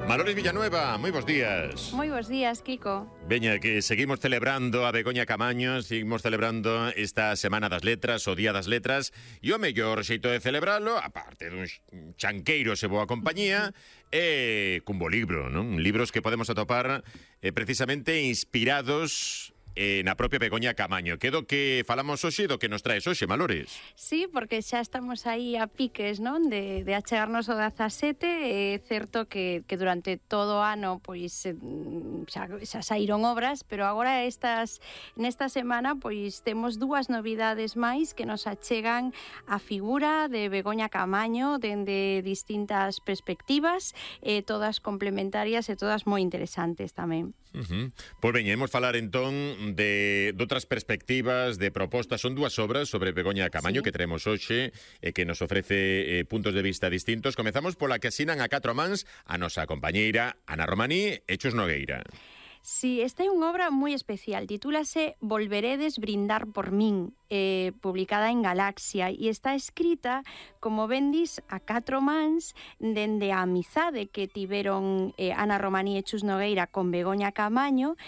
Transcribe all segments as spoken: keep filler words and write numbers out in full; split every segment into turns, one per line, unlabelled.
Malores Villanueva, moi bons días.
Moi bons días, Kiko.
Veña, que seguimos celebrando a Begoña Camaño, seguimos celebrando esta Semana das Letras, o Día das Letras, e o mellor xeito de celebralo, aparte dun chanqueiro e boa compañía, é cun bo libro, non? Libros que podemos atopar eh, precisamente inspirados Eh, na propia Begoña Camaño. Que do que falamos hoxe, do que nos traes hoxe, Malores?
Sí, porque xa estamos aí a piques, non? De, de achegarnos o dezasete. É certo que, que durante todo o ano pois xa, xa saíron obras, pero agora estas nesta semana pois temos dúas novidades máis que nos achegan a figura de Begoña Camaño dende distintas perspectivas, eh, todas complementarias e todas moi interesantes tamén.
Uh-huh. Pois veña, imos falar entón de, de outras perspectivas, de propostas. Son dúas obras sobre Begoña Camaño, sí, que teremos hoxe e que nos ofrece eh, puntos de vista distintos. Comezamos pola que asinan a catro mans a nosa compañeira Ana Romaní e Chus Nogueira.
Sí, esta é unha obra moi especial, titúlase Volveredes brindar por min, eh, publicada en Galaxia, e está escrita, como ben dis, a catro mans dende a amizade que tiveron eh, Ana Romaní e Chus Nogueira con Begoña Camaño,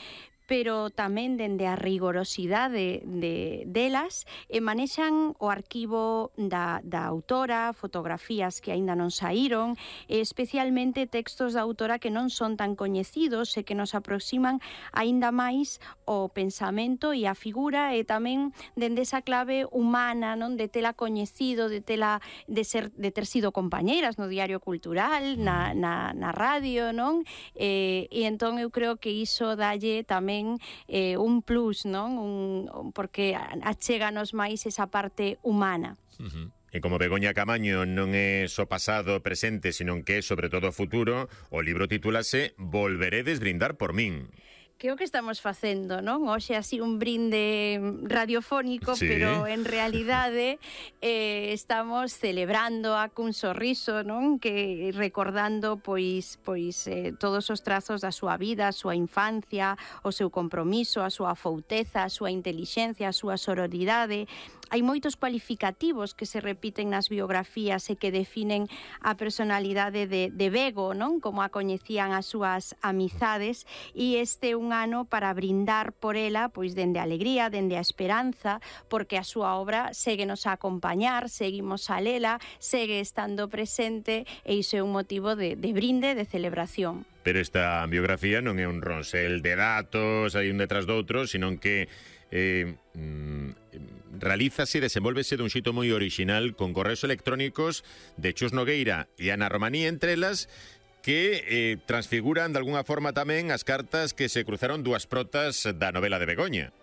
pero tamén dende a rigorosidade de, delas, e manexan o arquivo da, da autora, fotografías que aínda non saíron, e especialmente textos da autora que non son tan coñecidos e que nos aproximan aínda máis o pensamento e a figura, e tamén dende esa clave humana, non, de tela coñecido, de tela de ser de ter sido compañeiras no Diario Cultural, na, na, na radio, non? E, e entón eu creo que iso dalle tamén Eh, un plus, non? Un, porque achéganos máis esa parte humana.
Uh-huh. E como Begoña Camaño non é só pasado, presente, sino que é sobre todo futuro, o libro titúlase Volveredes brindar por min.
Que é o que estamos facendo, non? Hoxe así un brinde radiofónico, sí, pero en realidade eh, estamos celebrando a cun sorriso, non? Que recordando pois pois eh, todos os trazos da súa vida, a súa infancia, o seu compromiso, a súa fouteza, a súa intelixencia, a súa sororidade. Hai moitos cualificativos que se repiten nas biografías e que definen a personalidade de, de Bego, non? Como a coñecían as súas amizades, e este é un ano para brindar por ela, pois dende a alegría, dende a esperanza, porque a súa obra séguenos a acompañar, seguimos a lela, segue estando presente, e iso é un motivo de, de brinde, de celebración.
Pero esta biografía non é un ronsel de datos, hai un detrás do outro, sino que eh, mm, realízase e desenvolvese dun xito moi original con correos electrónicos de Chus Nogueira e Ana Romaní, entre elas, que eh, transfiguran de alguna forma tamén as cartas que se cruzaron dúas protas da novela de Begoña.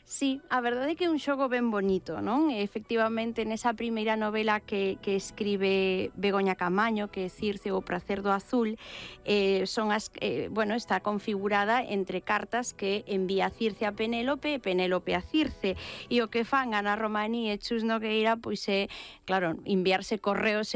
Sí, a verdade é que é un xogo ben bonito, non? Efectivamente, nesa primeira novela que, que escribe Begoña Camaño, que é Circe ou Pracer do Azul, eh, son as, eh, bueno, está configurada entre cartas que envía Circe a Penélope e Penélope a Circe, e o que fan Ana Romaní e Chus Nogueira, pois é, claro, enviarse correos